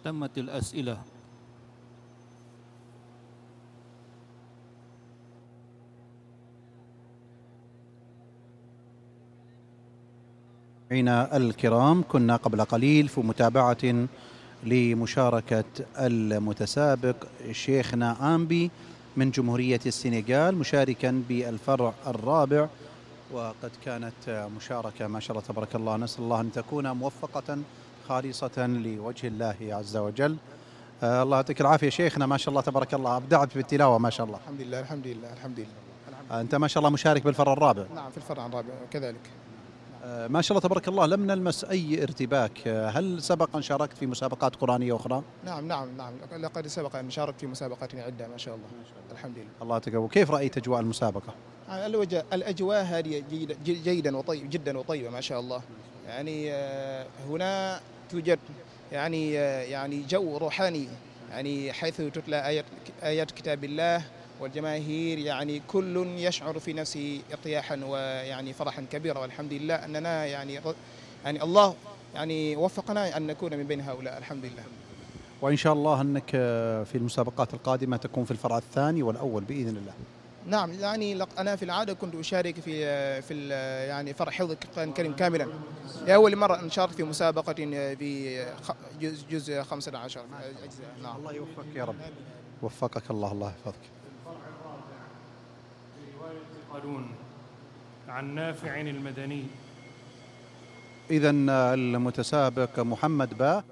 تمت الأسئلة. الكرام، كنا قبل قليل في متابعة لمشاركة المتسابق شيخنا آمبي من جمهورية السنغال مشاركا بالفرع الرابع، وقد كانت مشاركة ما شاء الله تبارك الله، نسأل الله أن تكون موفقة خالصة لوجه الله عز وجل. الله يعطيك العافية شيخنا، ما شاء الله تبارك الله، أبدعت بالتلاوة ما شاء الله. الحمد لله الحمد لله الحمد لله. أنت ما شاء الله مشارك بالفرع الرابع. نعم في الفرع الرابع كذلك. ما شاء الله تبارك الله، لم نلمس أي ارتباك. هل سبق أن شاركت في مسابقات قرآنية أخرى؟ نعم لقد سبق أن شاركت في مسابقات عدة ما شاء الله. الحمد لله. الله يتقبل. كيف رأيت أجواء المسابقة؟ الأجواء هذه جيدا وطيب جدا وطيبة ما شاء الله. يعني هنا توجد يعني جو روحاني، يعني حيث تتلى آيات كتاب الله، والجماهير يعني كل يشعر في نفسه ارتياحا ويعني فرحا كبيرا، والحمد لله أننا يعني الله يعني وفقنا أن نكون من بين هؤلاء الحمد لله. وإن شاء الله أنك في المسابقات القادمة تكون في الفرع الثاني والأول بإذن الله. نعم، يعني أنا في العادة كنت أشارك في يعني فرع حفظ القرآن الكريم كاملا. لأول مرة أن شاركت في مسابقة في جزء 15 أجزاء. نعم. الله يوفقك يا رب. وفقك الله، الله يحفظك. قالون عن نافع المدني. إذن المتسابق محمد باء